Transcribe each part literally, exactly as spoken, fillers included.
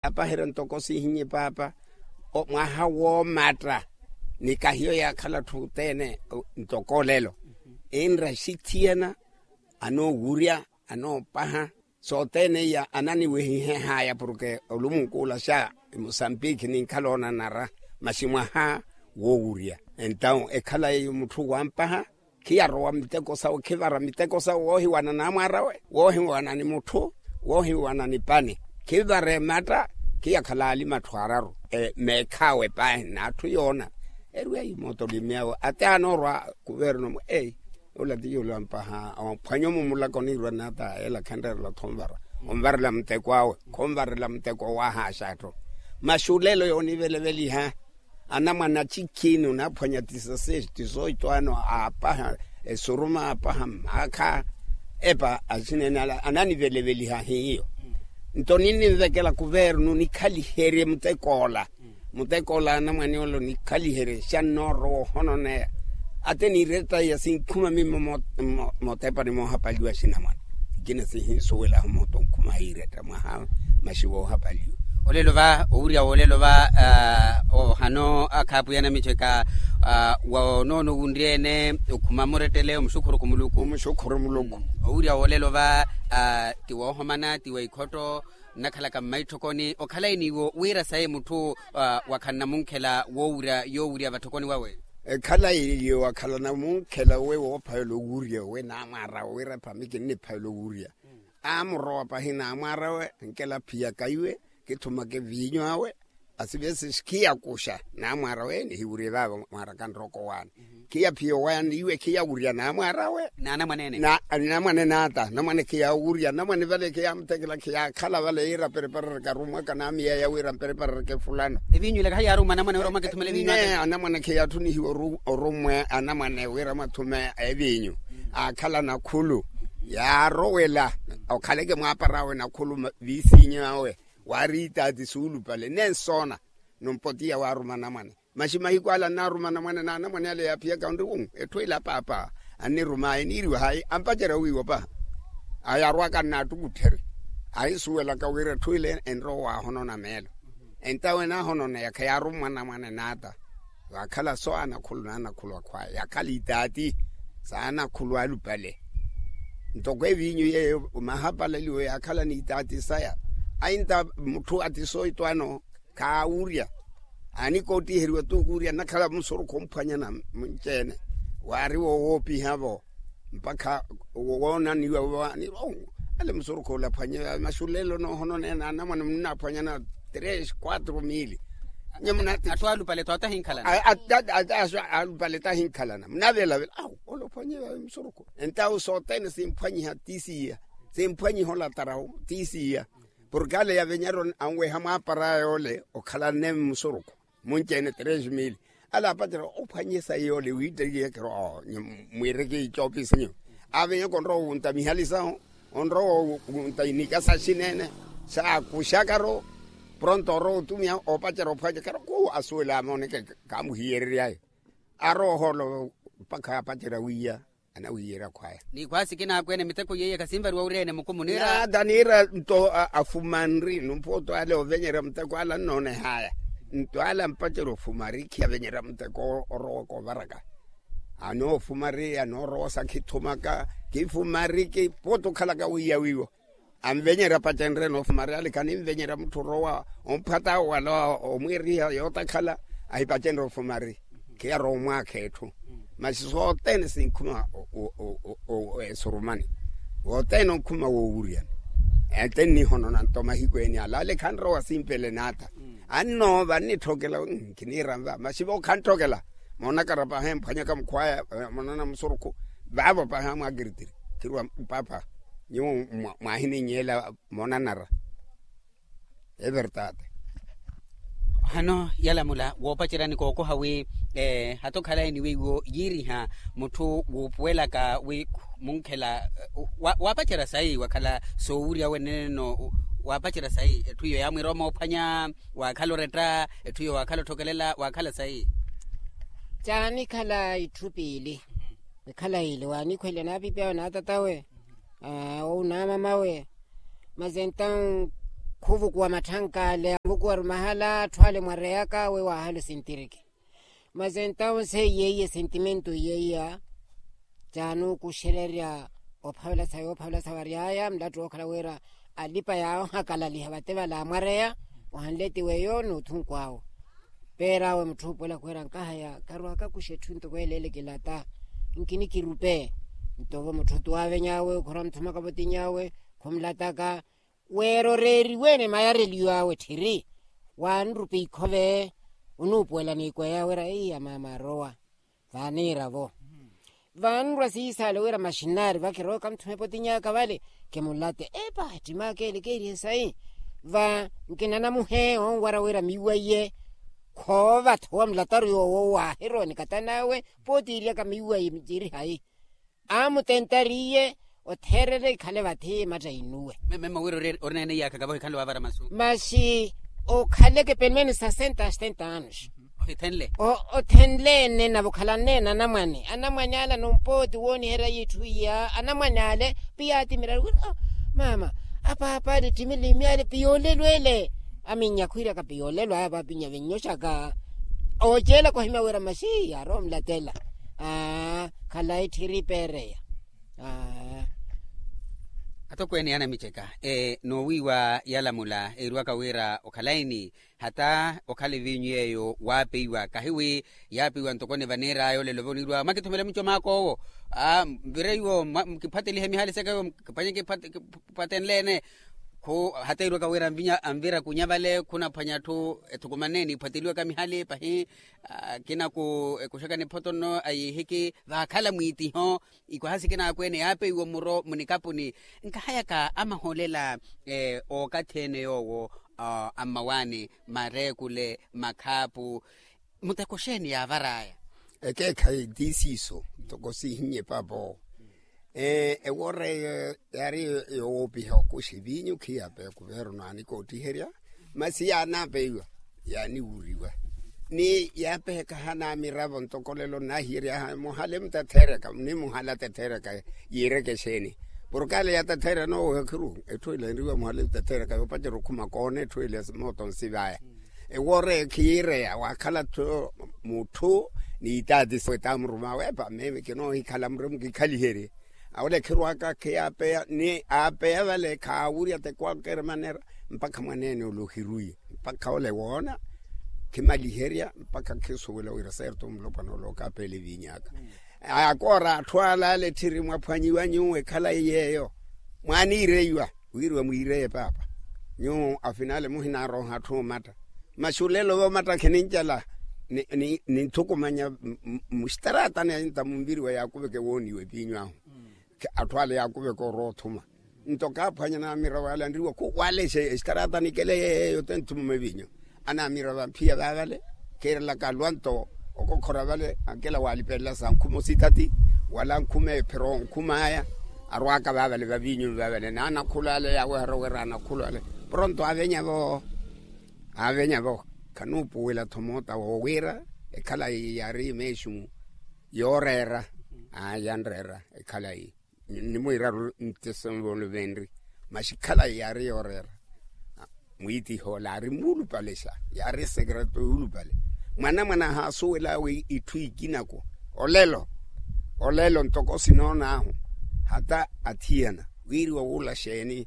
Apaherya ntoko sihinyi paapa, mwaha woomatta. Ni kahiyo yaakhala atthu othene ntoko olelo, enra axithiyana anoowurya, anoopaha. Sothene iya ananiwehihehaya porke olumunkuula xa emusambikhi ninkhala onanara, masi mwaha woowurya. Entawu ekhala eyo mutthu wampaha, khiyarowa miteko sawe khivara miteko sawe woohiwana namwarawe, woohiwana ni mutthu, woohiwana ni pani. Khivara ematta, khiyakhala alima atthu araru. Meekhaawe paahi n'atthu yoona, erwiya imooto olimiyawe ati anoorwa kuverno mwe eyi, ola ti yolampaha ophwanya omu mulako niirwa nata ela khenreerela thonvara, onvarela muteko awe, khonvarela muteko owahaxa atthu. Masi olelo yooniveleveliha anamwane acikhini onaphwanya tisaseis tisoito ano aapaha esuruma aapaha mmaakha, epa axineene ala ananiveleveliha hiyo. Nto ninninvekela kuverno nikhaliherye muteko ola. Muteko ola anamwane ole onikhaliherye xa nnoorowa ohononeya. Ate niiretta iya sinkhuma mimmo mootepani moohapaliwa axinamwane. Ikina sihinsuwelaho mooto onkhuma hiiretta mwaha, masi woohapaliwa. Olelo va owurya wolelo va ohano akhaapwiya anamicheka, wa onoono owunryeene okhuma murettele omuxukhuru kumuluku omuxukhuru muluku. Owurya wolelo va ti woohomana ti wa ikhotto nnakhalaka mmaitthokoni okhalayi niwo wira sayi mutthu wakhala namunkhela woowurya yoowurya vatthokoni wawe. Ekhalayi niwo wakhala namunkhela we woophavela owurya we namwaarawe wira epa miki nniphavela owurya. Aamurowa pahi namwaarawe ankela aphiyaka iwe, kithumaka eviinyu awe. Asivesixi khiyakuxa namwaarawe nihiwurye vaavo mwaaraka nrooko waana. Khiyaphiya owaana iwe khiyawurya namwaarawe. N'anamwaneene n'ata namwane khiyawurya namwane vale khiyamuthekela khiyaakhala vale yiira pereparereke arummwaka namiyeya wira mpereparereke fulano. Eviinyu ile khayaarumwa anamwane wira mwakitthume eviinyu ata. Anamwane khiyaatthunihiwa orummwe anamwane wira mwathume eviinyu. Aakhala nakhulu yaarowela okhaleke mwaaparawe nakhulu viisinyu awe. Waari itaati suulupale nensoona. Numpotiya waaruma anamwane masi mahiku ala nnaaruma anamwane n'anamwane ale yaaphiyaka onri etthu ila paapa annirum'aya eniiriwa hayi ampacerya wiiwa paha. Ayarwaka nnaattukuttherye ahinsuwelaka wira etthu ile enrowa waahonona meelo. Entawe naahononeya khayaarumwa anamwane n'ata. Vaakhala so anakhulu n'anakhulu akhwaya yaakhala itaati s'anakhulu alupale. Ntoko eviinyu yeeyo mahapalaliwe yaakhala n'itaati saya. Ainta mutthu atisoito ano khaawurya. Aanikootiheriwa tuukuurya nnakhala musurukhu omphwanyana munci-ene waari wowoopihavo. Mpakha woonaniwa ale musurukhu ole aphwanye maxulelo noohononeya n'anamwane munnaaphwanyana tres quatro mili. Atthu alupale tho atahinkhalana. Atthu alupale tahinkhalana munavelavela awu ole ophwanye musurukhu. Entawu sothene simphwanyiha ti siiya. Simphwanyiha olatarawu ti siiya. Porke ale yavenyerya anweha mwaapara yoole okhalanne mmusurukhu munci-ene tres mili. Ale aapacerya ophwanye sayi yoole wiittekiye kiro. Mwiireke icoopisi nyu aavenyaka onrowa owunta mihali sahu onrowa owunta inika saxineene. Saakuxakaru pronto orowa otumiha oopacerya ophwanya kiro kuu asuwela amooneke. Kaamuhiyerery'aya arowa ohoolo mpakha aapacerya wiiya. Anawiyerya khwaya. Ni khwaasikina akweene miteko yeiye khasinvariwa wira ene mukumu niira. Nata niira nto afumanri numpuwa oto ale ovenyerya muteko ale annoonehaya. Nto ale ampacerya ofumari khiyavenyerya muteko orowaka ovaraka. Anoofumari anoorowosa khithumaka khifumari kipuwa oto okhalaka wiiya wiiwo. Anvenyerya pacenrye noofumari ale khaninvenyerya mutthu orowa omphwata wala omwiiriha yootakhala. Ahipacenrye ofumari khiyarowa omwaakha etthu. Masi sothene sinkhuma esurumani. Wothene onkhuma woowuryani. Ente nnihonona nto mahiku eni ala ale khanrowa simpele n'ata. Annoova annitthokela. Khiniira nva masi vo khantthokela. Moonakara paha emphwanyaka mukhwaya moonana musurukhu. Vaavo paha mwakiritiri khirwa paapa. Nyuwo mwaahininyela moonanara. Evertade. Hano yalamula woopacerya ni kookoha wi hata okhalayi ni weiwo yiiriha mutthu wuupuwelaka wi munkhela. Waapacerya sayi wakhala soowurya weneneno? Waapacerya sayi etthu iyo yaamwiira omoophwanya? Waakhala oretta etthu iyo waakhala otthokelela waakhala sayi? Caanikhala itthu piili. Ekhala ile waanikhweliwa n'apipi awe n'atatawe ou n'amamawe. Masi entawu Khuvukuwa matthanka ale avukuwa-ru mahala atthu ale mwareyaka we wahala osintiriki. Mas entaw se iyeiya sentimento iyeiya canuukuxererya ophavela sa yoophawela sa wary'aya mulattu wookhala wira alipa yaawo ahakalaliha vate vala amwareya. Ohanle tiweyo n'uthunku awo peer'awe mutthu oopwela khwira nkahaya karwaakakuxa etthu ntoko eleele kilata. Nkinikirupe nto vo mutthu tuwaaveny'awe okhorwa muthumaka votinyawe khumulataka. Weera oreeriwe ni mayareliyo awe tthiri waanrupa ikhove. Onuupuwela n'ikweya wira iya maama arowa vaaniira-vo. Vaanrwa siisaale wira maxinaari vakirooka muthume potinyaka vale kimulate epa ettimaka ele keerihe sayi. Va nkinanamuhe onwara wira miwaiye khoova-tho wamulataru yoowo waahirowa nikatan'awe. Pootiiryaka miwaiye miciri hayi. Amutentariye otheerele ikhale vathi matta inuwe. Mema wira ori neene iyaakha kavaho ikhale waavara masu. Maxi okhaleke pelo menos sasenta a setenta anos. Ohithenle. Othenle ene navo okhalanne na anamwane anamwane ala nompooti wooniherya yitthu iya anamwane ale. Piyaati miraru wira maama apaapa ale ttimile imyale piyoolelo ele. Aminnya khwiiraka piyoolelo aya vaapinya vinyoxaka ooceelaka ohimya wira maxi yaarowa omulatela. Khalayi tthiri peereya. Atokweene yaanamiceka noowiiwa yalamula eeriwaka wira okhalayi ni hata okhala eviinyu yeeyo waapeiwa kahiwi yaapeiwa ntoko ni vaniir'aya olelo voniiriwa mwakithumela mucom'aka owo. Mvire iwo kiphwatelihe mihali seka iwo kiphwanye kiphwatenleene. Hata eeriwaka wira anvira kunya vale khunaphwanya atthu ethukumanne niphwateliwaka mihali pahi. Kinaku ekuxaka niphoto nno ayiihiki vaakhala mwiitiho. Ikwaha sikina akweene yaapeiwa muro munikapuni nkahayaka amahoolela ookathi ene yoowo ammawaani mareekule makhaapu. Muteko xeeni yaavar'aya? Ekeekhayi ti siiso ntoko siihinye paapa owo. Ewoora eyo yaari yowoopiha okuxa eviinyu khiyaapeya kuveeru n'anikootiherya. Masi yaanaapeiwa yaaniwuriwa ni yaapeheka hanamiravo ntoko lelo nnahiyery'aha muhale mutatheereka ni muhale atetheereka. Yiireke xeeni porke ale yatetheerya nooweha khiru etthu ela enriwa muhale mutatheereka yoopacerya okhuma koona etthu ela mooto nsi vaya. Ewoora eyo khiyiireya waakhala-tho mutthu n'itaati wetaamurum'awe epa mimi kinoohikhala muremu kikhaliherye. Awole khirwaka khiyaapeya ni aapeya vale khaawurya teko akeremanera mpakha mwaneene ole ohiruiye mpakha ole woona khimaliherya mpakha khisuwela wira serto mulopwana ole okaapela eviiny'aka. Akoora atthu ala ale tthiri mwaphwanyiwa nyuwo ekhalayi yeeyo mwaaniireiwa wiiriwa mwiireye paapa. Nyuwo afinale muhinaaroha atthu omatta maxulelo voomatta khinincala ninthukumanya muxitaratani ahinta munviriwa yaakuveke wooniwa epiinyu ahu. Atthu ale yaakuveke orowa othuma nto kaaphwanya naamira waale anriwa khu waale exitaratani kele yeeyo tenthumuma epiinyu. Anaamira vamphiya vaavale khiirelaka alwa nto okokhora vale ankela waalipelela sa nkhuma ositati wala nkhuma ephiro nkhuma aya. Arwaaka vaavale vaviinyu vaavale naanakhula ale yaaweherya wira anakhula ale pronto aavenyavo. Aavenyavo khanuupuwela-tho moota woowiira ekhalayi yaari meexumu yooreera. Yanreera ekhalayi nimwiiraru ntisonvolo venri maxi khalayi yaari yooreera. Mwiitihola ari muulupale xa yaari esekreto yuulupale. Mwanamwana ahaasuwel'awe itthu ikinako olelo olelo ntoko sinoon'ahu hata athiyana wiiriwa wuula xeeni?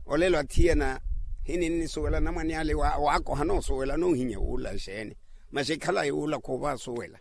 Olelo athiyana hininnisuwela namwane ale waakoha noosuwela noohinya wuula xeeni? Maxi khalayi wuula khuuva asuwela.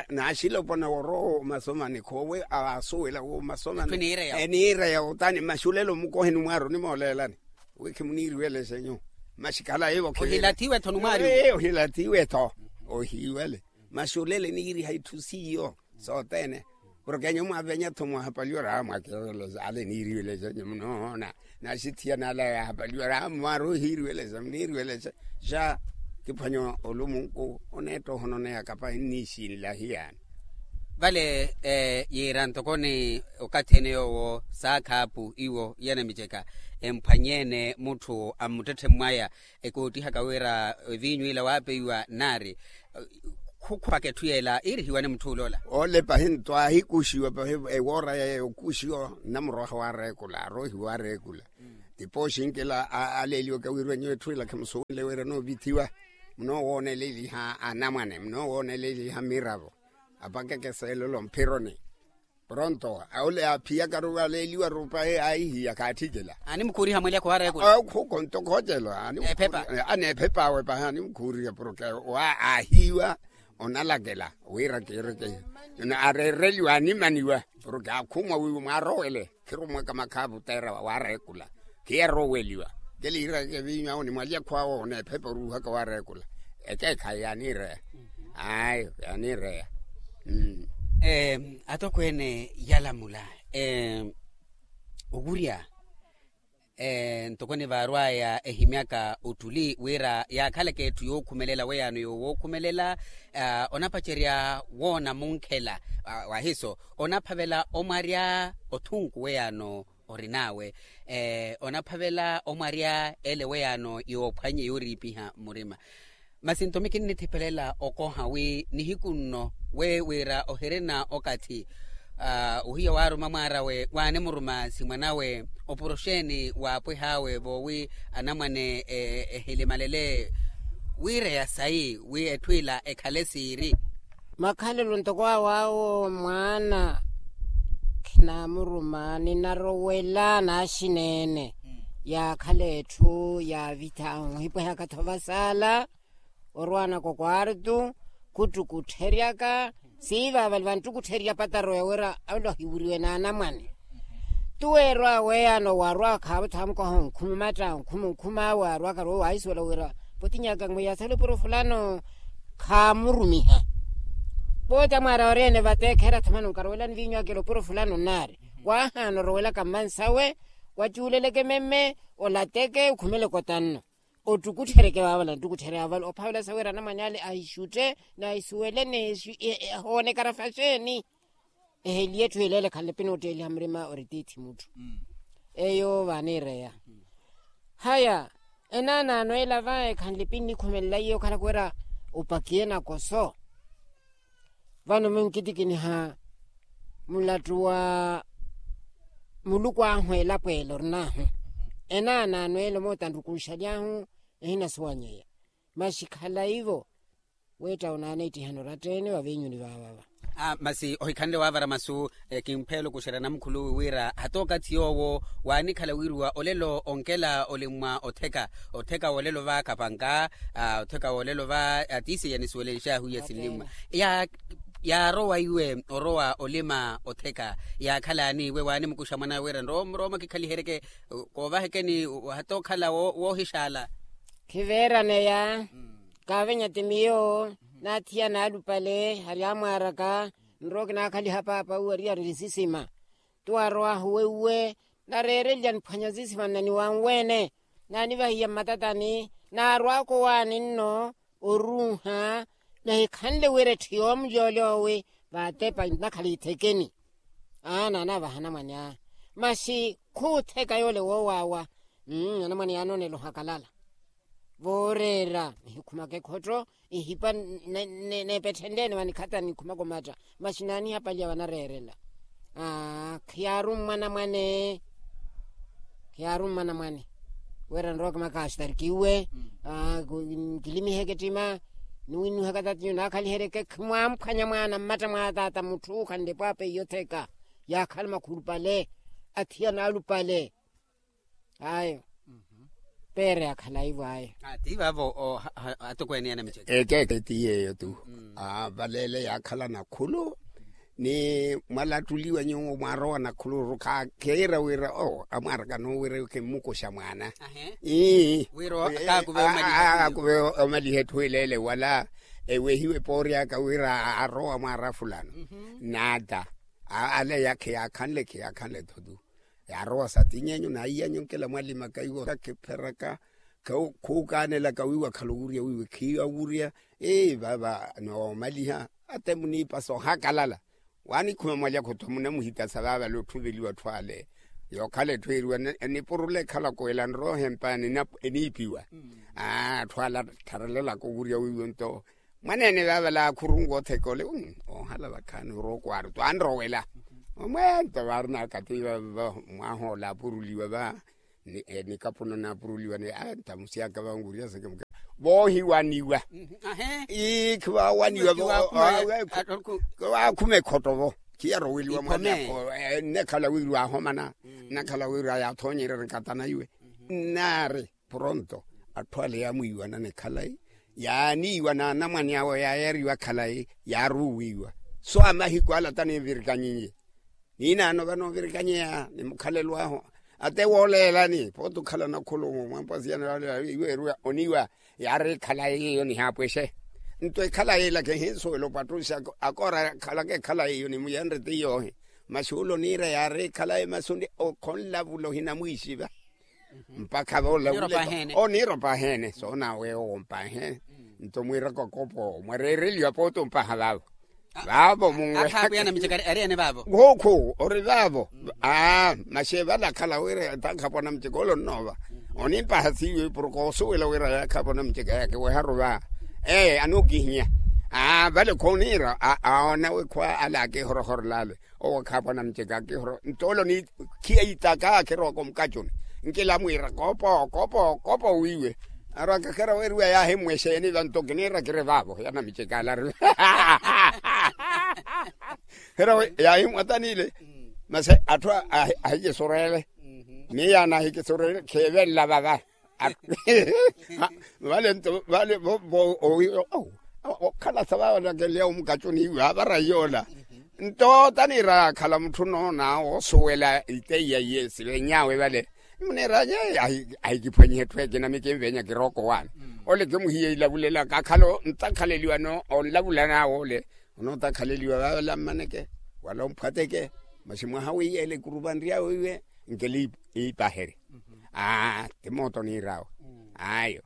Naaxilopona worowa omasomani khoowe asuwela womasomani eniireya otani maxulelo mukoheni mwaaru onimooleelani wi khimuniiriwelexe nyuwo. Maxikhala ivo ohilathiwe-tho numwaari ohilathiwe-tho ohiwele. Maxulelo eniiriha itthu siiyo sothene porke nyuwo mwaavenya-tho mwahapaliwa raha mwakiwelexa ale eniiriwelexa nyuwo munoona. Naxithiyana ala yaahapaliwa raha mwaari ohiiriwelexa muniiriwelexa. Xa kiphwanya olumunku oneetta ohononeya kapahi nniixinlahiyaani. Vale yiira ntokoni okathi ene yoowo saakhaapu iwo yanamiceka emphwanyeene mutthu ammuttetthe mwaya ekoottihaka wira eviinyu ila waapeiwa naari khukhupaka etthu yeela iirihiwane mutthu uloola. Ole pahi nto aahikuxiwa pahi ewoora yeeyo okuxiwa nnamuroha waareekula aroohiwa areekula. Tipooxinkela aleeliwaka wiirwa nyuwo etthu ila khemusuwenle wira noovithiwa, munoowooneleliha anamwane munoowooneleliha miravo, apakeke seelolo mphironi. Pronto ole aaphiyakaru aleeliwaru pahi aahihiya khaatthicela. Animukhuuriha mweelyakho waareekula. Khukonto khoocelo. Aneephepa awe pahi animukhuuriha porke aahiiwa onalakela wira kiireke. Areereliwa animaniwa porke aakhumwa wiiwo mwaarowele. Khirumwaka makhaavuteera waareekula. Khiyarooweliwa. Keliireke viinyu awo ni mwalyakho awo oneephepa oruuhaka waareekula. Ekeekhayi yaaniireya. Ayo yaaniireya. Atokweene yalamula owurya ntoko nivaarwaya ehimyaka ottuli wira yaakhalaka etthu yookhumelela weyaano yowookhumelela. Onapacerya woona munkhela wahiso onaphavela omwarya othunku weyaano orin'awe. Onaphavela omwarya ele weyaano yoophwanye yooriipiha murima. Masi nto mi kinnithipelela okoha wi nihiku nno we wira ohirina okathi ohiya waaruma mwaar'awe waanimuruma simwan'awe opuro xeeni waapwih'awe voowi anamwane ehilimalele wiireya sayi wi etthu ila ekhale siiri. Makhalelo ntoko awo awo mwaana khinaamuruma ninarowela naaxineene yaakhala etthu yaavitha ahihipwehaka-tho vasaala orwaanaka okwartu khuttukuttherya-ka siiva avali vanttukuttherya pataro yawira avali ohiwuriwe n'anamwane. Tuweerwa weyaano waarwa khaavo thamukoha onkhuma omatta onkhuma onkhuma awe aarwaka rowo waahisuwela wira potinyaka mwiya sala opuro fulano khaamurumiha. Pooti amwaari awo ori-ene vateekheera thamani onkarowelani viinyu akela opuro fulano nnaari waahaana orowelaka mmansawe wacuuleleke memme olateke okhumeleke otanno. Ottukutthereke vaavala nttukutthereke vaavala ophavela sawira anamwane ale ahixutte n'ahisuwele n'ehoonekara faxeeni. Eheliye etthu eleele khanle pini otteeliha murima ori tiithi mutthu. Eyo vaaniireya haya enaanaano ela va ekhanle pini nikhumelela iye okhalaka wira opakiye nakoso. Vano munkitikiniha mulattu wa muluku ahu elapo ela orin'ahu enaanaano ela omoota nrukunxaly'ahu ehinasuwanyeya. Masi khala ivo weetta onaana ettihano oratta-ene vaviinyuni vaavava. Masi ohikhanle waavara masu kimpheelo kuxera namukhuluwi wira hata okathi yoowo waanikhala wiiriwa olelo onkela olimmwa otheka otheka wolelo va kapanka otheka wolelo va atiisiya nisuwelenx'ahu iya sinlimmwa. Yaarowa iwe orowa olima otheka yaakhalani iwe waanimukuxa mwan'awe wira nrowa murooma kikhaliheryeke koovahekeni hata okhala woohixaala. Khiveeraneya kaavenya ti miyo naathiya naalupale hari amwaaraka nrowa kinaakhaliha paapa uwe ariyari nsisima. Tuwarowahu wewuwe nareereliya niphwanya nsisima nna niwanweene naanivahiya mmatatani naarwaaka owaani nno oruuha nahikhanle wira etthu yoomulyooly'owe vaatepa nakhala ithekeni. Aa naanavaha anamwane aa masi khuutheka yoole woowaawa. Anamwane yaanoonela ohakalala vooreera nihikhumaka ekhotto ihipa neepetthenle-ene vanikhatani nikhumaka omatta. Masi naanihapaliya vanareerela khiyaarummwa anamwane khiyaarummwa anamwane wira nrowa kimaka astarkiwe nkilimiheke ettima niwinnuhaka tatinyu naakhaliheryeke khimwamphwanya mwaana mmatta mwa taata mutthu khanle pwaapa iyo otheka yaakhala makhulupale athiya naalupale. Ayo peere yakhala ivo ayo. Ti vaavo atokweene anamiceke ekeeke ti yeeyo tu. Valeele yaakhala nakhulu ni mwalattuliwa nyuwo mwaarowa nakhuluru khakeera wira amwaaraka noowira kimmukuxa mwaana. Ii wira kaakuve omaliha etthu eleele wala ewehiwe pooryaka wira arowa mwaara fulano naata ale yakhe yaakhanle khe yaakhanle-tho tu. Yaarowa satinyenyu naiyanyu nkela mwalimaka iwo khipheraka khukaanelaka wiiwa khala owurya wiiwe khiiya owurya. Ii vava noomaliha ate muniipasa ohakalala waanikhuma mwalyakho-tho munamuhitasa vava lootthu veliwa atthu ale yookhala etthu eeriwa nipurula ekhalako ela nroha empa eniipiwa. Atthu ala attharelelaka owurya wiiwo nto mwaneene vava laakhurunku otheka ole oohala vakhaani orowa okwaari twanrowela. Omweento vaarinaka ti vava mwaaha ola apuruliwa va Nikapuno naapuruliwa ni a ntamusi aka vanguria seke muke voohiwaniwa. Ii khivaawaniwa. Vookhuma ekhotto vo khiyaroweliwa mwanyakho. Nnekhala wiriwa ahomana nnekhala wiriwa yathoonyerya nikatana iwe. Nnaari pronto atthu ale yaamwiiwana ni khalayi yaaniiwa n'anamwane awo yaayariwa khalayi yaaruwiiwa. So amahiku ala taninvirikanyinye. Niinaano vanoovirikanyenya ni mukhalelo ahu ate wooleelani pooti okhalana khulumu mwampwasiyana wale iweeriwa oniiwa. Yaari ekhalayi iyo nihaapwexe nto ekhalayi ila kihinsuwela opattuxa akoora akhalaka ekhalayi iyo nimuyenre ti yoohi. Masi ule oniira yaari ekhalayi masi khonlavula ohinamwiixiva. Mpakha voolavuleka oniira opahene soonawe owo mpahene. Nto mwiiraka okopo mwareereliwa pooti ompaha vaavo. Vaavo munwe. Akhaapu ya namiceka ari ene vaavo. Nkhuukhu ori vaavo. Aa masi evalakhala wira taakhapu anamiceka ole onnoova onimpaha siiwe porke oosuwela wira yaakhapu anamiceka yaakiweharu va. Ee anookihinya. Aa vale khoniira aona wekhwa ale akihorohorela ale. Owo akhaapu anamiceka akihoro nto ole oniikhiya itaka akirowaka omukacuni. Nkila mwiira kopo kopo kopo wiiwe. Arwaka khera weeriwa yaahimmwa exeeni vanto kiniira kiri vaavo ya namiceka alari. Hera we yaahimmwa tanile. Masi atthu ahikisureele miyo yaana ahikisureele khiivenla vava. Vale nto vale vo vo owi okhalasa vaavanakenlya omukacuni iwe avara yoola. Nto taniira yaakhala mutthu noona woosuwela iteiya iye siveny'awe vale. Muniira ahikiphwanyiha etthu ekina mikinvenya kirooko waani. Ole kimuhiye ilavulelaka akhala ontakhaleliwa onlavulan'awe ole. Onootakhaleliwa vaavela mmaneke wala omphwateke. Masi mwaha wiiyela ekuruvanry'awe iwe nkela iipaherye. Aa ti mooto oniir'awe. Ayo.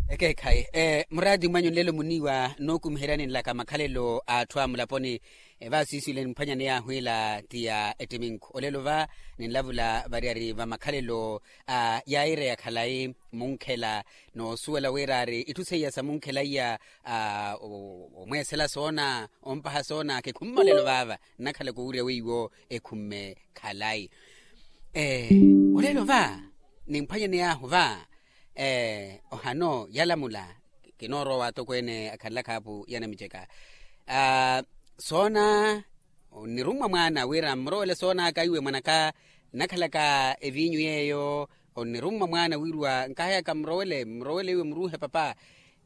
Ekeekhayi muraati mwanyu nlelo muniiwa nookumiheryani nlaka makhalelo a atthu a mulaponi. Vaasiiswile nimphwanyani yaahu ila ti ya ettiminkhu olelo va ninlavula variyari va makhalelo a yaayira ya khalayi munkhela. Noosuwela wira ari itthu seiya sa munkhela iya omweesela soona ompaha soona kikhumme olelo vaava nnakhalaka owurya weiwo ekhumme khalayi. Olelo va nimphwanyani yaahu va ohano yalamula kinoorowa atokweene akhanlaka apu yanamiceka. Soona onnirummwa mwaana wira mmurowele soon'aka iwe mwan'aka nnakhalaka eviinyu yeeyo. Onnirummwa mwaana wiriwa nkahayaka mmurowele mmurowele iwe muruuhe papa.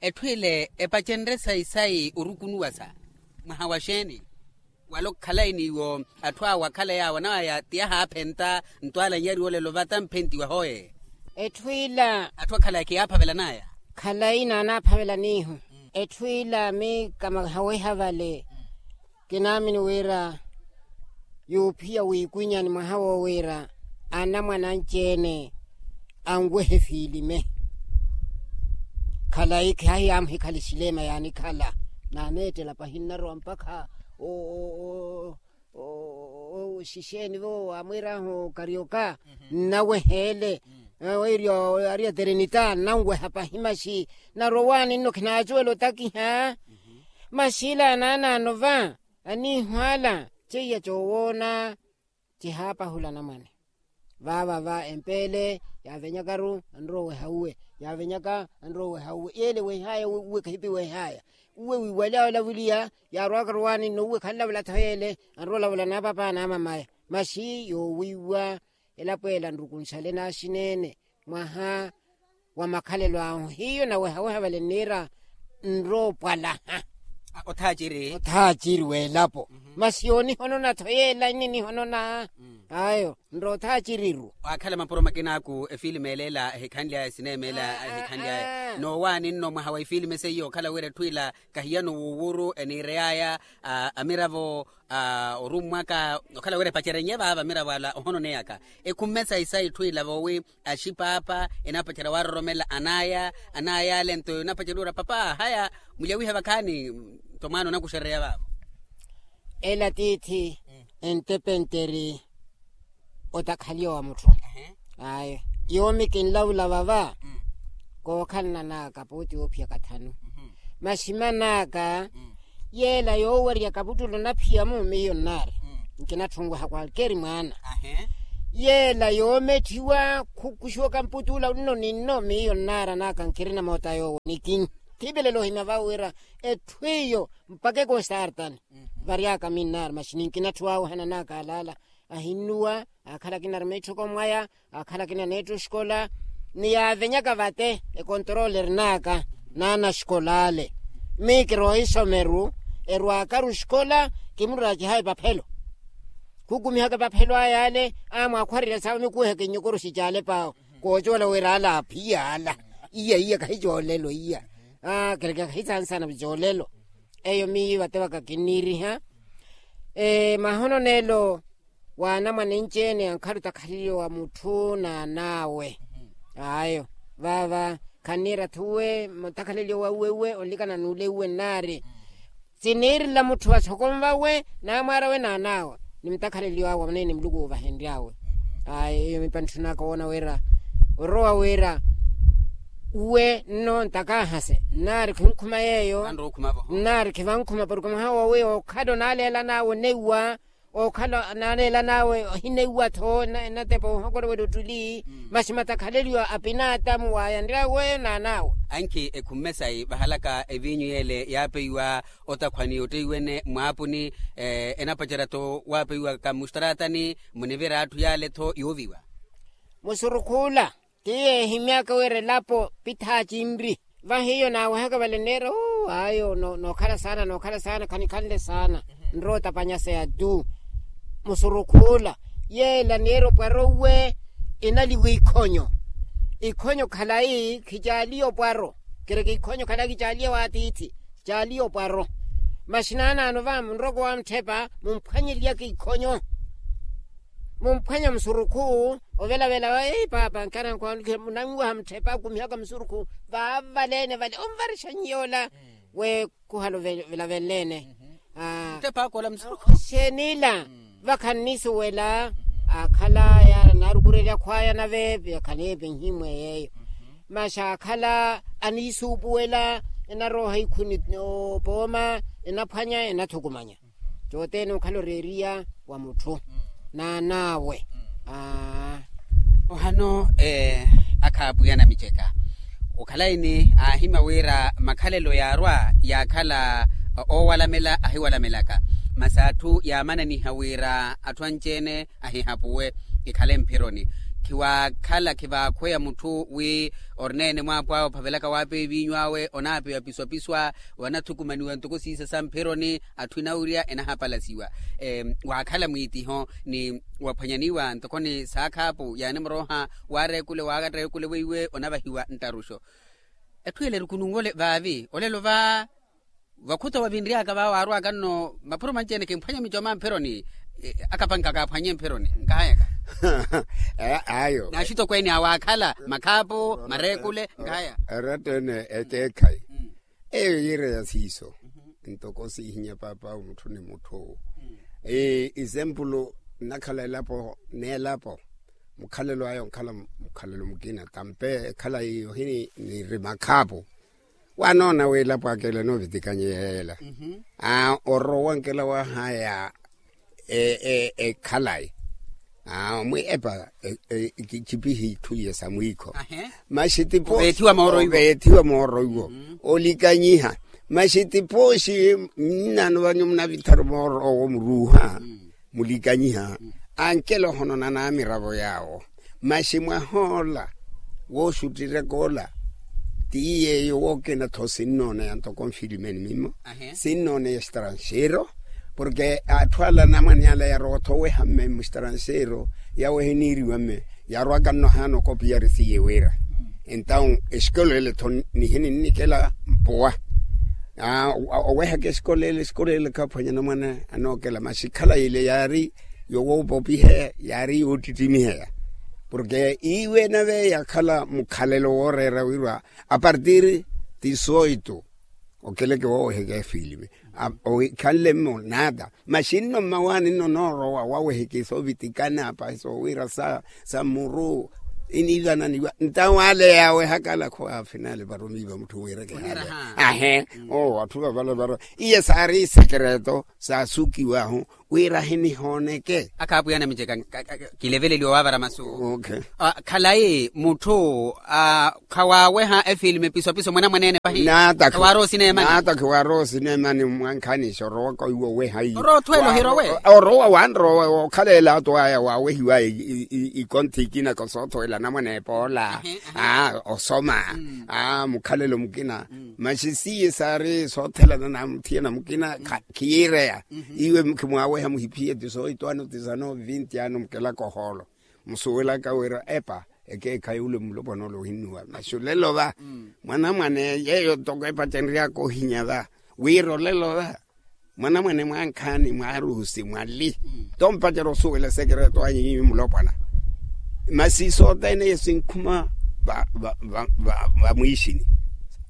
Etthu ile epacenrye sayi-sayi orukunuwasa mwaha wa xeeni? Wala okhalayi n'iwo atthu awo akhala yaawo anawaya ti yahaaphenta ntwaala nyariwa olelo vata mphentiwa hooye. Etthu ila atthu akhala kiyaaphapela naya. Khalayi naanaaphavela n'ihu. Etthu ila miika mahaweha vale kinaamini wira yuuphiya wiikwinyani mwaha woowiira anamwane anci-ene anwehe efiilime. Khalayi khaahi yaamuhikhala exilema yaanikhala naaneettela pahi nnarowa mpakha oxixeeni vo waamwiir'ahu karioka nnaweheele. Weeriwa ari aterinita nnanweha pahi maxi narowaani nno khinaacuwela otakiha. Maxi ila anaanaano va aniihu ala ceiya coowoona cihaapahula anamwane. Vaava va empeele yaavenyakaru anrowa oweha uwe yaavenyaka anrowa oweha uwe yeele wehaya uwe kahipi wehaya uwe wiiwalya olavuliya yaarwaka rowaani nno uwe khanlavula tho yeele anrowa olavula naapapa naamamaya. Maxi yoowiiwa elapo ela nrukunxale naaxineene mwaha wa makhalelo ahu hiyo nawehaweha vale nniira nroopwalaha. Othaaciri othaaciri w'elapo masi yoonihonona-tho yeela nninihononaha. Ayo nroothaaciriru. Waakhala mapuro makinaaku efilimu ela ela ehikhanly'aya esineema ela ehikhanly'aya noowaani nno mwaha wa efilimu seiyo okhala wira etthu ila kahiyano wuuwuru eniirey'aya amiravo orummwaka okhala wira epacerenye vaava amiravo ala ohononeyaka ekhumme sayi-sayi etthu ila voowi axipaapa enapacerya waaroromela an'aya an'aya ale nto enapacerya wira papa haya mulyawihe vakhaani nto mwaana onakuxereya vaavo. Ela tiithi entepenteri otakhaliwa wa mutthu. Ayo yoomi kinlavula vava kookhalana n'aka pooti woophiya kathanu masi man'aka yeela yoowerya kaputtulo naphiya-mu miyo nnaari nkinatthunweha kwalkeeri mwaana. Yeela yoometthiwa khukuxiwaka mputula onno ninno miyo nnaara naka nkirina moota yoowo nikinyi. Thiipelele ohimya vawe wira etthu iyo mpakha ekonstartani. Varyaka minnaari maxi ninkinatthu wawe ohana naka alaala ahinnuwa. Akhala akina arumetthu okomwaya akhala akina netthu oxikola ni yaavenyaka vate ekontorole erinaka naana axikola ale. Mii kirowa isomeru erwakaru oxikola kimurwaakiha epaphelo khukumihaka epaphelo aya ale amwakhwarerya sawe mikuweheke nnyokoroxi caale paawe koocola wira ala aphiya ala. Iya iya kahicoolelo iya. Kereke kahisansana vicoolelo. Eyo miyo vate vaka kinniiriha. Mahono neelo wa anamwane anci-ene ankhala otakhaleliwa wa mutthu n'an'awe. Ayo vava khanniira-tho uwe mutakhaleliwa wa uwe uwe onlikana n'ule uwe nnaari. Siniirila mutthu wa sokonva uwe n'amwaara awe n'an'awe ni mutakhaleliwa awe onene muluku oovahenry'awe. Ayo eyo mipantthu naka woona wira orowa wira uwe nno ntakahase nnaari khinkhuma yeeyo. Nnaari khivankhuma porke mwaha wowi okhala onaaleela n'awe oneiwa okhala naaleela n'awe ohineiwa-tho enatepa ohokora wira ottuli. Masi matakhaleliwa a pinaatamu waayanry'awe n'an'awe. Ankhi ekhumme sayi vahalaka eviinyu yeele yaapeiwa otakhwani otteiwene mwaapuni enapacerya-tho waapeiwaka mustratani munivira atthu yaale-tho yooviwa. Musurukhula ti yeehimyaka wira elapo pitha acinri. Vahiyo naawehaka vale neera ayo nookhala saana nookhala saana khanikhanle saana. Nrowa otapanya seya tu musurukhuula yeela neera opwara uwe. Enaliwa ikhonyo ikhonyo khalayi khicaaliya opwaro. Kereke ikhonyo khalayi khicaaliya waatiithi khicaaliya opwaro. Masi naanaano va munrowa okowa mutthepa mumphwanyeliyaka ikhonyo mumphwanya musurukhu. Ovelavela ei paapa nkana nkwanulihe munanwaha mutthepa akumihaka musurukhu vaavaleene vale onvarixa nyiyoola. Weekuhala ovelavelleene mutthepa akoola musurukhu. Xeenila vakha nnisuwela akhala yaara naarukurerya khwaya nave yakhaleepe nhimwe yeeyo. Masi akhala aniisuupuwela enarooha ikhuni opooma enaphwanya enathukumanya. Cothene okhala oreeriya wa mutthu n'an'awe. Ohano akhaapuya namiceka okhalayi ni aahimya wira makhalelo yaarwa yaakhala oowalamela ahiwalamelaka. Masi atthu yaamananiha wira atthu anci-ene ahihapuwe ikhale mphironi. Khiwaakhala khivaakhweya mutthu wi orineene mwaapo awe ophavelaka waapeya eviinyu awe onaapeya opiswapiswa wanathukumaniwa ntoko siisa sa mphironi. Atthu enawirya enahapalasiwa waakhala mwiitiho ni waphwanyaniwa ntoko ni saakhaapu yaanimurooha waareekule waareekule weiwe onavahiwa nttaruxo. Etthu ele erukununwole vaavi olelo va vakhuta wavinryaka va waarwaka nno mapuro manci-ene kimphwanye mico ma mphironi. Akapanka kaaphwanye mphironi nkahayaka ayo naaxitokweene awaakhala makhaapu mareekule nkahaya. Eratta ene eteekhayi eyo yiira ya siiso ntoko siihinya paap'awe mutthu ni mutthu. Isempulu nnakhala elapo n'elapo mukhalelo aya onkhala mukhalelo mukina tampe ekhalayi yohini niri makhaapu. Wanoona wi elapo aka ela enoovitikanye yeela orowa onkela wahaya ekhalayi mwi epa kichipihi itthu iye sa mwiikho. Masi tipooxi oveethiwa mooro iwo olikanyiha. Masi tipooxi nnaano vanyu munavitharu mooro owo muruuha mulikanyiha ankela ohonona n'amiravo yaawo. Masi mwah'ola wooxuttireka ola ti yeeyo wookina-tho sinnooneya ntoko nfilimeni mimo sinnooneya estranxeiro. Porke atthu ala anamwane ala yarowa-tho oweha mme mustranxeiro yawo ehiniiriwa mme yarwaka nno ahaana okopiyari siye wira entawu exikolo ele-tho nihini nnikela mpuwa. Owehaka exikolo ele exikolo ele khaphwanya anamwane anookela masi khalayi ile yaari yowoopopiheya yaari yoottittimiheya. Porke iwe nave yakhala mukhalelo wooreera wirwa apartir dizoito okeleke wooweheke efilime oikhanle mmo nata masi nno mmawaani nno noorowa waweheke soovitikana pahi soowira sa muru. Iniivananiwa ntawo ale yawe hakala khwaafinale varomiiva mutthu wiireke hale. Ahe. Oo atthu vavala varo iye saari isekereto saasukiwahu wira hinihooneke. Akhaapwiya namiceka. Kileveleliwa waavara masu. Khalayi mutthu khawaaweha efilimu episopiso mwanamwaneene pahi. Khawaarowa osineemani. Nata khiwaarowa osineemani mwankhaani sorowaka iwo oweha iye. Orowa othweela ohirowe. Orowa wanrowa okhala elato aya waawehiwa ikonthi ikina kosoothoweela anamwane epoola. Osoma mukhalelo mukina. Maxi siye saari soothelana na muthiyana mukina khiyiireya. Iwe khimwaaweha muhiphiye ti soohitwaano ti sano vinti ano mukelaka ohoolo. Musuwelaka wira epa ekeekhayi ule mulopwana ole ohinnuwa maxi olelo va. Mwanamwane yeeyo toko epacenryaka ohinya va wira olelo va. Mwanamwane mwankhaani mwaaruhusi mwali. Tompacerya osuwela esekereto anyu nyinyu mulopwana. Masi sothene eyo sinkhuma vamwiixini.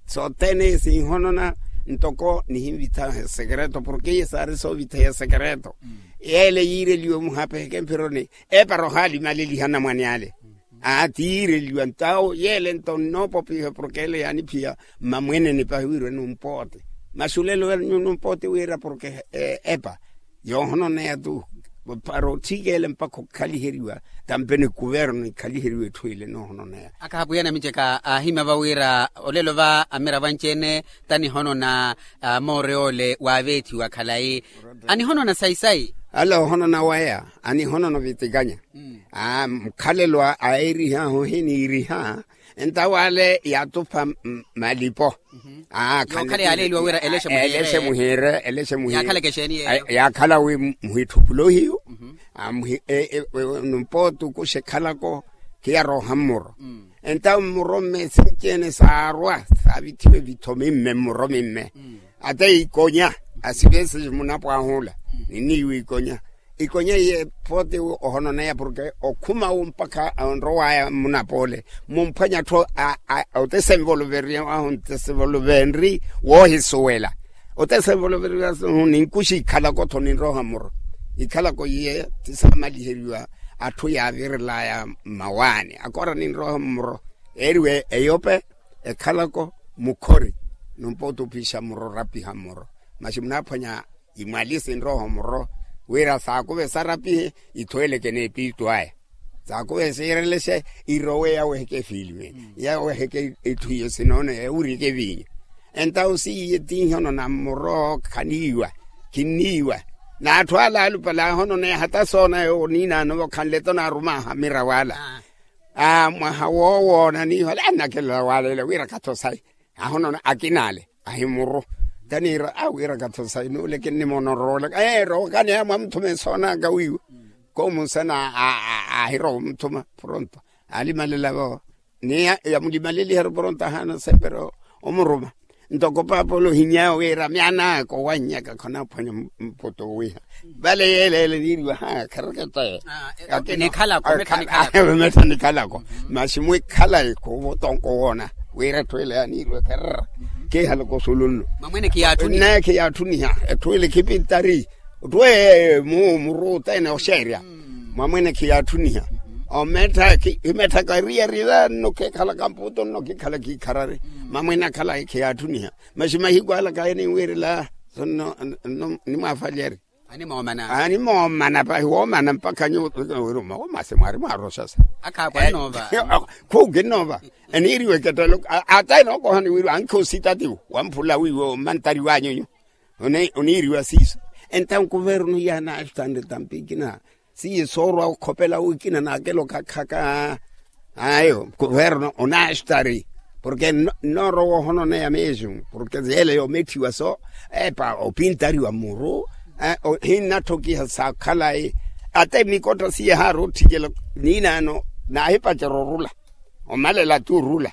Sothene eyo sinhonona ntoko nihinvithaha esekereto porke iye saari soovitheya esekereto. Yeele yiireliwe muhapeheke mphironi. Epara ohaalimaleliha anamwane ale. Aa tiireliwa ntawo yeele nto nnoopopiha porke ele yaaniphiya. Mmamwenene pahi wirwe numpoote. Maxi olelo numpooti wira porke epa yoohononeya tu. Para otthikele mpakha okhaliheriwa tampene kuverno ikhaliheriwa etthu ile enoohononeya. Akhaapwiya namiceka aahimya va wira olelo va amiravo anci-ene tanihonona. Moore ole waaveethiwa khalayi anihonona sayi-sayi. Ale ohonona waya anihonona ovitikanya. Mukhalelo a eerihahu ohiniiriha. Entawo ale yaatupha malipo. Aa khale yaaleeliwa wira eleshe muhiire. Eleshe muhiire yaakhala wi muhitthupulohiyu. Numpooti okuxa ekhalako khiyarooha mmuro. Entawo mmuro mme sinci-ene saarwa saavithiwe vitho mimme mmuro mimme. Ata ikonya asivese munapwahula niniiwa ikonya. Ikonya iye pooti ohononeya porke okhuma wu mpakha onrowaya mmunapoole mumphwanya atthu otesenvoluveriwahu ntesenvoluvenri woohisuwela. Otesenvoluveriwahu ninkuxa ikhalako tho ninroha mmuro. Ikhalako iye tisamaliheriwa atthu yaavirelaya mmawaani akora ninroha mmuro. Eeriwe eyope ekhalako mukhori. Numpooti ophixa mmuro orapiha mmuro maxi munaaphwanya imwali sinroho muro wira saakuve sarapihe. Ithuweleke n'epiitu aya saakuve siirelexe irowe yaweheke efilime yaweheke itthu iyo sinoone ewurike eviinyo. Entawo siiye tiihono na muro khaniiwa khinniiwa. N'atthu ala alupale ahononeya hata soona yowo niinaano vakhanle to naarumaha mirawo ala. Mwaha woowoona niiho ale annakelela waalele wira katho sayi. Ahonona akina ale ahimuru taniira awiira katho sayi nuule kinnimoona oroolaka ee rookani aya mwamuthuma esoonaka wiiwa. Koomunsana ahirowa omuthuma pronto alimalela vo ni yamulimaleliheru pronto ahaana sepero omuruma. Ntoko paapa ole ohinyaya wiira myaanaka owannyaka khonaaphwanya mpoto owiha vale yeeleele niiriwa ha kharaketa. Eyo nikhalako masi mwikhala ekhuvo tonko woona wira etthu ele yaniiriwa kherera. Kiihalaka osulunno naye khiyaatthuniha etthu ele khipintari. Ottwe mu muruuta ene oxeerya mwamwene khiyaatthuniha. Omettha khimettha kariyari vanno khekhalaka mputo nno khikhala khikharari. Mamwene akhala khiyaattuniha masi mahiku ala kaye ninwiirela. Sonno nimwaafalyeri. Animoomana pahi woomana mpakha nyuwo womase mwaari mwaaroxasa. Khukinnoova eniiriwe kettelo ata enookohani wiiriwa ankhi ositatiwo wamphula wiiwe omantari wanyunyu. Oniiriwa siiso entawo nkuverno iyaanaxtanre tampi ikina. Siye soorwa okhopela wikina naakelo khakhaka. Ayo nkuverno onaxtari porke nnoorowa ohononeya meexu porke yeele yoometthiwa so epa opintariwa muru. Ohinnatthokiha sakhalayi ata emikotta siye haari otthikela niinaano naahipacerya orula omalela ata orula.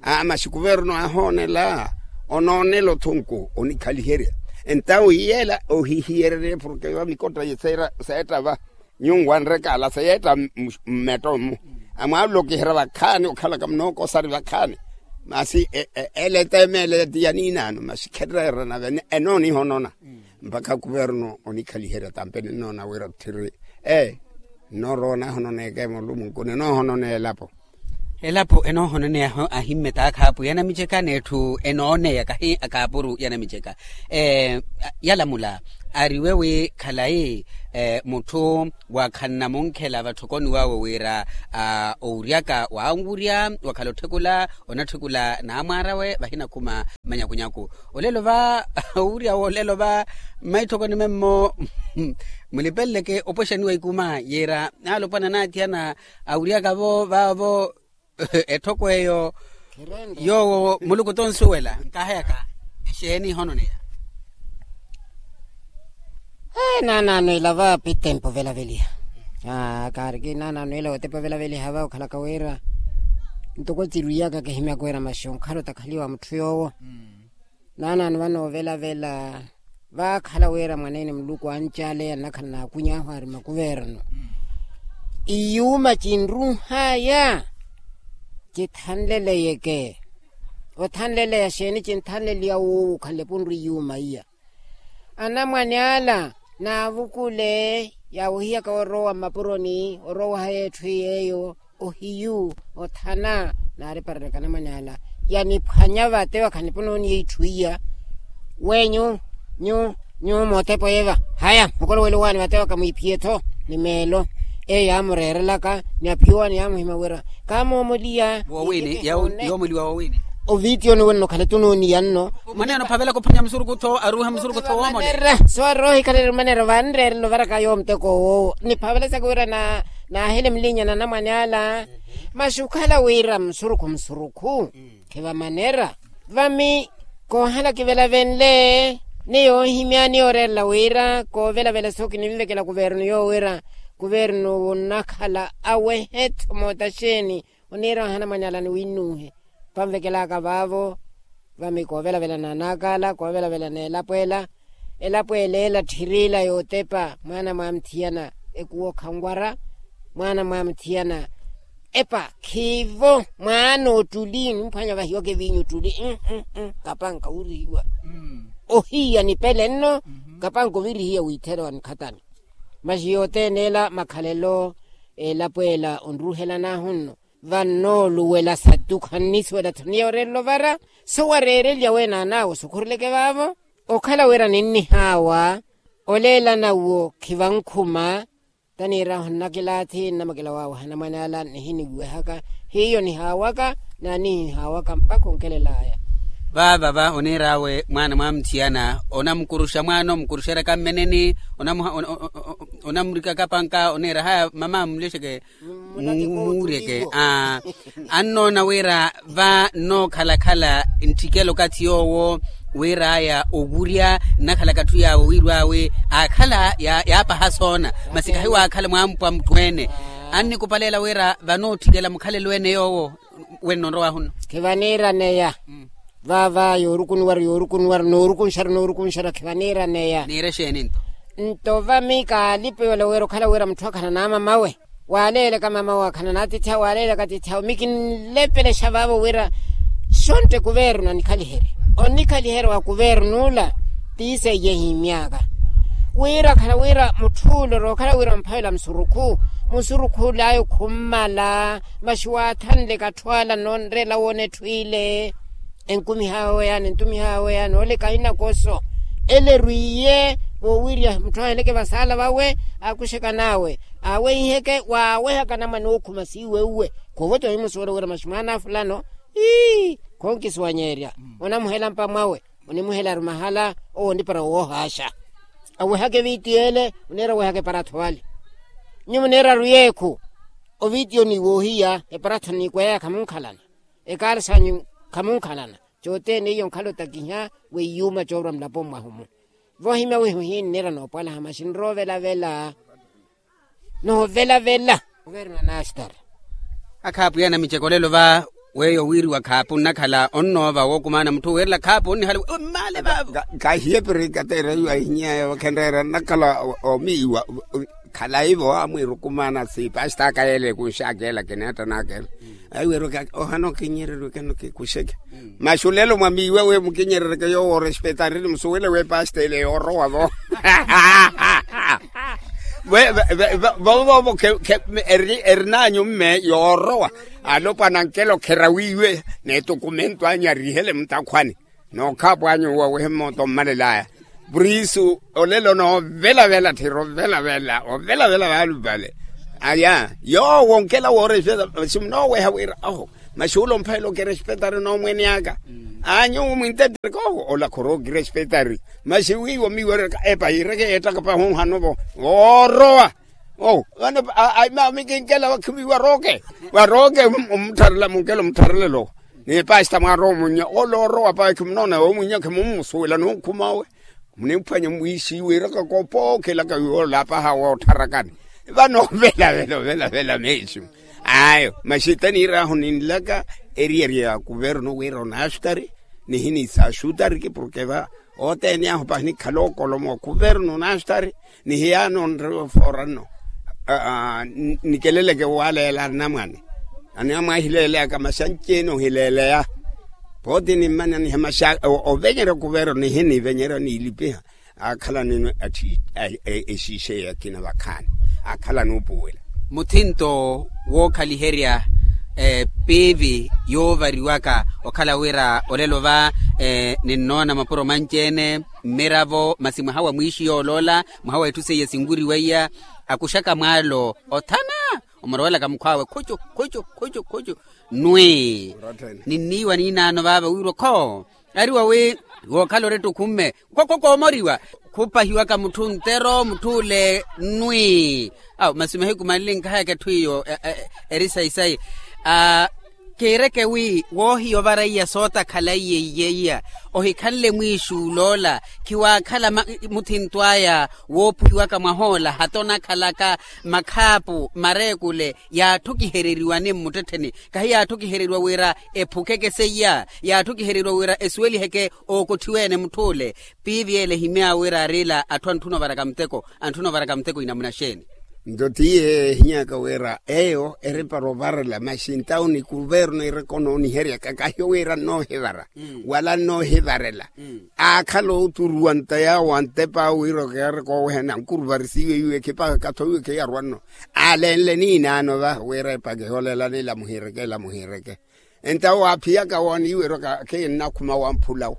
Aa masi kuverno ahoonela onoonela othunku onikhaliherya. Entawo iyeela ohihiyererye porke vamikotta seetta va nyunwanrekaala seyeetta mmetto mmu. Amwaalokiherya vakhaani okhalaka munookosari vakhaani masi ele eteemeele ti yaniinaano masi khetteerana vene enoonihonona. Mpakha kuverno onikhaliherya tampe ninnoona wira otthiri ee nnoorowa onaahononeeka emulumunku ninoohononeela elapo. Elapo enoohononeyaho ahimmetaakha apwiya anamiceka n'etthu enooneya kahi akaapuru ya namiceka. Yalamula ariwe wi khalayi mutthu wakhanna munkhela vatthokoni wawe wira owuryaka wanwurya wakhala otthekula onatthekula naamwaarawe vahinakhuma manyakunyaku. Olelo va owurya wolelo va mmaitthokoni memmo mulipeleleke opwexaniwa ikuma yiira alopwana anaathiyana awuryaka-vo vaavo etthoko eyo yoowo muluku tonsuwela nkaheyaka exeeni ihononeya. Naanaano ela va pitempo velaveliha kaariki naanaano ela otepa velaveliha va okhalaka wira ntoko tsirwiyaka kihimyaka wira maxi onkhala otakhaliwa mutthu yoowo. Naanaano vano ovelavela vaakhala wira mwaneene muluku ancaaleya nnakhala naakuny'ahu ari makuverno iyuuma cinruh'aya cithanleleyeke. Othanleleya xeeni cinthanleliya wuuwo okhanle punru iyuuma iya anamwane ala naavukule yaawohiyaka orowa mmapuroni orowa haya etthu yeeyo ohiyu othana naariparereka anamwane ala yaniphwanya vate wakha niponooniya itthu iya. Weenyu nyu nyu mootepo yeva haya mukolowelo waani vate waka mwiiphiye-tho ni meelo eyo yaamureerelaka ni aphiyo waani yaamuhima wira kaamoomoliya. Woowini yoomoliwa woowini. Ovitiyoni wenno khale tunooniya nno. Mwaneene ophavelaka ophwanya musurukhu-tho aruuha musurukhu-tho woomolela. So aroohikhalele mwaneene vanreerela ovaraka yoowo muteko woowo niphavelesaka wira naahele mulinya na anamwane ala. Masi okhala wira musurukhu musurukhu khivamanera. Vami koohala kivelavenle ni yoohimya ni yooreerela wira koovelavela so kininvekela kuvernu yoowo wira kuvernu onakhala awehe-tho moota xeeni. Oniira ohana mwanyaala ni winnuuhe panvekelaka vaavo. Vami koovelavela n'anaaka ala koovelavela n'elapo ela elapo ela ela tthirila yootepa mwaana mwaamuthiyana ekuwo khanwara mwaana mwaamuthiyana epa khiivo mwaana ottuli nimphwanya vahiwaka eviinyu ottuli. Kapanka wirihiwa ohiya nipele nno kapanka ovirihiya wiitherewa nikhatani. Masi yothene ela makhalelo elapo ela onruhelan'ahu nno vannooluwela sattu khannisuwela-tho ni yooreerela ovara so wareereliya weenaan'awe osukhureleke vaavo. Okhala wira ninnihaawa oleelana uwo khivankhuma taniirahu nnakilaathi nnamakela waawe hanamwane ala nihiniwehaka hiyo nihaawaka naanihihaawaka mpakha onkelel'aya. Vaavava oniir'awe mwaana mwaamuthiyana onamukuruxa mwaana omukuruxeryaka mmeneni onamurikaka panka oniira haya mama mulexeke. Muureke annoona wira va nnookhalakhala ntthikela okathi yoowo wir'aya owurya nnakhalaka atthu yaawe wiirw'awe aakhala yaapaha soona masi khahiwaakhala mwaamupwa mutthu-ene. Annikupaleela wira vanootthikela mukhalelo-ene yoowo wenno onrow'ahu nno. Khivaniiraneya vaava yoorukunuwaru yoorukunuwaru noorukunxaru noorukunxaru khivaniiraneya. Niire exeeni nto? Nto vami kaalipe yola wira okhala wira mutthu akhala naamamawe waaleelaka mamawe akhala naatiithi awe waaleelaka atiithi awe mi kinlepelexa vaavo wira xontte kuvernu anikhaliherye onikhaliherya wa kuvern'ula. Tiiseiye ehimmyaka wira akhala wira mutthu'ula orookhala wira omphavela musurukhu musurukhul'aya okhummala. Masi waathanleka atthu ala nnoonreela woona etthu ile enkumih'awe yaani entumih'awe yaani oleka ahinakoso ele erwiiye voowirya mutthu aheleke vasaala vawe aakuxekan'awe aaweiheke waawehaka anamwane ookhuma siiweuwe. Khoovota ohimusuwela wira masi mwaana fulano ii khonkisuwanyeerya onamuhela mpa mwawe onimuhelaru mahala owo onipara woohaaxa awehaka eviitiy'ele oniira awehaka eparatho ale. Nyuwo muniiraru yeekhu oviitiyoni woohiya eparatho niikweya khamunkhalana ekaari sanyu khamunkhalana. Cothene iyo nkhala otakiha weiyuuma coorwa mulaponi mwahu-mu voohimya wiiho hiinniira noopwalaha masi nrovelavela. Novelavela. Akhaapwiya anamiceko lelo va weyo wiiriwa khaapu nnakhala onnoova wookumaana mutthu wiirela khaapu onnihala wi mmaale vaavo. Kahiye pirikateera iwo ahinyiya ewo khenreera nnakhala omiiwa khalayi vo amwiirukumaana si pastaka yeele kunxaka ela kineettanaka ela. Ayi weerwaka ohana okinyererweke nokikuxeke masi olelo mwamiiwa wi mukinyerereke yoowo orespetarini musuwele wi pasta ele yoorowa vo. Vovoovo erinanyu mme yoorowa alopwana nkelo kherawiiwe n'etokumento anyu arihele mutakhwani nookhaapwa anyu wawehe mmooto mmalel'aya. Purisu olelo noovelavela tthiri ovelavela ovelavela vaalupale. Aya yoowo nkela woorespeta simunooweha wira oho maxuula omphayela okirespetari noomwene aka. Anyu mwintetteke oho ola khorookirespetari. Maxi wiiwo miiwereraka epa yiireke yeettaka pahunhanovo woorowa. Owo vano aima mikinkela vakhiviwa rooke varooke omuttharela munkela omuttharelelo. Ni pasta mwarowa omunnya ole orowa pawe khimunoona omunnya khimummusuwela nonkhumawe. Munimphwanya mwiisiiweraka kopookhelaka yoola apaha woottharakani. Vano velavela velavela meesu ayo maxi taniir'ahu ninlaka eriyari ya kuverno wira onaastari nihiniisa axutariki porke va othene ahu pahinikhala okolomo wa kuverno onaastari. Nihiyaano nrewe ofooranno nikeleleke waleela anamwane. Anamwahileeleyaka maxanci-ene ohileeleya pooti nimmana niha maxaka ovenyerya okuvera nihinivenyerya niilipiha. Aakhala nino exiixeya akina vakhaani aakhala nuupuwela. Muthinto wookhaliherya piivi yoovariwaka okhala wira olelo va ninnoona mapuro manci-ene mmiravo masi mwaha wa mwiixi yooloola mwaha wa itthu seiya sinwiriweiya. Akuxaka mwaalo othana omurowelaka mukhw'awe khucu khucu khucu khucu nwi. Ninniiwa niinaano vaava wiirwa okho ariwa wi wookhala orettokhumme kookomoriwa khupahiwaka mutthu ntero mutthu ole nwi. Awo masi mahiku manli nkhayaka etthu iyo eri sayi-sayi. Kiireke wi woohiya ovara iya sootakhala iye iye iya ohikhanle mwiixi uloola khiwaakhala muthinto aya woophuhiwaka mwahoola hata onakhalaka makhaapu mareekule. Yaatthu kihereriwa ni mmuttettheni kahi yaatthu kihereriwa wira ephukeke seiya yaatthu kihereriwa wira esuweliheke ookotthiwa-ene mutthu ole. Piivi ele ehimy'awe wira arila atthu antthuna ovaraka muteko antthuna ovaraka muteko inamuna xeeni? Nto tiye ehinyaka wira eyo eripara ovarela maxi ntawo ni kuverno ereka onooniheryaka kahiyo wira nnoohivara wala nnoohivarela. Aakhala ooturuwa nta yaawo antep'awe wira okiyareka oowehana ankuruvarisiwe iwe khipaka kathowiwe khiyarwa nno. Aalenle niinaano va wira epaka eholela nilamuhireke elamuhireke. Entawo aaphiyaka wooniiwerya oka khiinnakhuma wamphulawo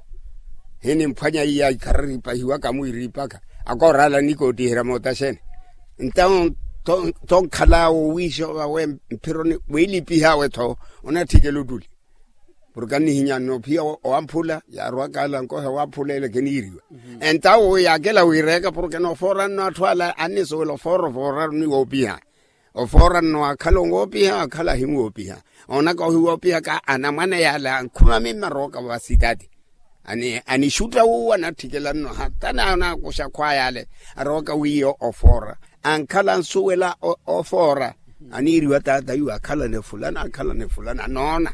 hinimphwanya iya ikharari ipahiwaka mwiiriipaka akooraala nikootiherya mootaxene. Entawo tonkhalaawo wiixova we mphironi wiilipih'awe-tho onatthikela ottuli porke annihinya nnoophiya owamphula yaarwaka ala nkohe wamphula ele kiniiriwa. Entawo yaakela wiireeka porke noofoora nno atthu ala annisuwela ofoora ofooraru ni woopiha. Ofoora nno waakhala onwoopiha waakhala ahinwoopiha. Oonaka ohiwoopihaka anamwane yaale ankhumami mmarooka va sitati anixutta wuwo anatthikela nno hata naakuxa akhwaayaale. Aroowaka wiiyo ofoora ankhala ansuwela ofoora aniiriwa taata iwo akhalane fulana akhalane fulana anoona.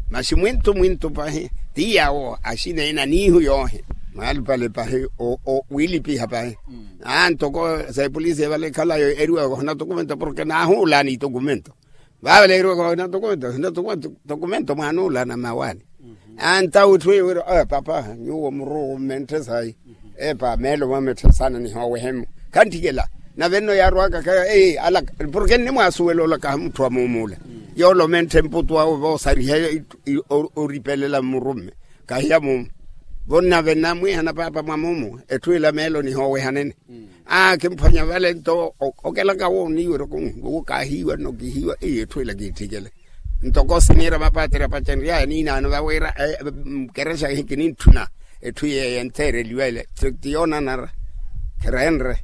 Masi mwintu mwintu pahi ti yaawo axina ina aniihu yoohi mwaalupale pahi wiilipiha pahi. Aa ntoko sa epolisi evale ekhalayo eriwaka ohina tokumento porke naahuulaani itokumento. Vaavale eriwaka ohina tokumento ohina tokumento mwaana ola anamawaani. Aa ntawo etthu eyo wira papa nyuwo muruku mmenthe sayi. Epa meelo mwametthesana nihoowehe-mo khantthikela. Nave nno yaarwaka kaya ala porke nnimwaasuwela olakaha mutthu wa muumula yoola omentthe mputu awe voosariha oripelela mmurumme kahiya mumu. Vo nnave nnamwiihana paapa mwa mumu etthu ila meelo nihoowehanene. Aa kimphwanya vale nto okelaka wooniiwerya okunwi wowo kaahiiwa nno kihiiwa iyo etthu ila kiitthikele. Ntoko siniira mapaatiri apacenry'aya niinaano vawira nkerexa kinintthuna etthu yeeyo entheereliwa ele ti yoonanara. Khireenre.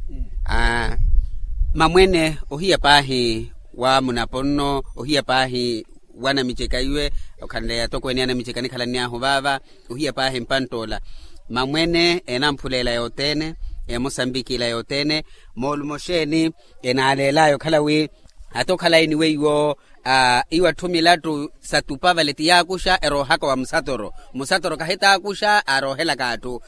Mamwene ohiya paahi wa munapo nno ohiya paahi wa namiceka iwe okhanleya atokweene a namiceka nikhalanny'ahu vaava ohiya paahi mpantt'ola. Mamwene eenamphuleela yothene eemosambiki ila yothene moolumo xeeni enaaleel'aya okhala wi hata okhala iniwe iwo iwo atthu milattu sa tupa vale ti yaakuxa eroohaka wa musatoro musatoro kahitaakuxa aaroohelaka atthu.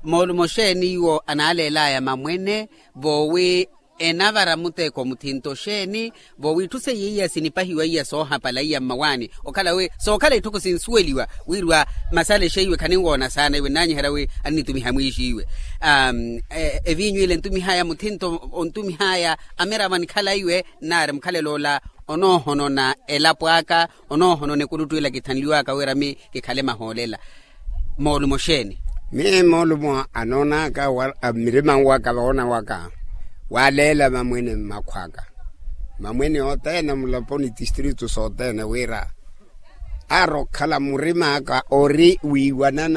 Moolumo xeeni iwo anaaleel'aya mamwene voowi Enavara muteko muthinto xeeni? Vo wiitthu seiya iya sinipahiwa iya soohapala iya mmawaani okhala wi sookhala itthu khusinsuweliwa wirwa masala exeiwe khaninwoona saana iwe nnanyiherya wi annitumiha mwiixiiwe. Eviinyu ile ntumihaya muthinto ontumihaya amiravo anikhala iwe nnaari mukhalelo ola onoohonona elapo aka onoohonona ekuluttu ila kithanliwaka wira mi kikhale mahoolela. Moolumo xeeni? Miyo moolumo anoonaka mirima waka voona waka waaleela mamwene mmakhwaka mamwene othene mulaponi tistritu sothene wira aari okhala murim'aka ori wiiwanana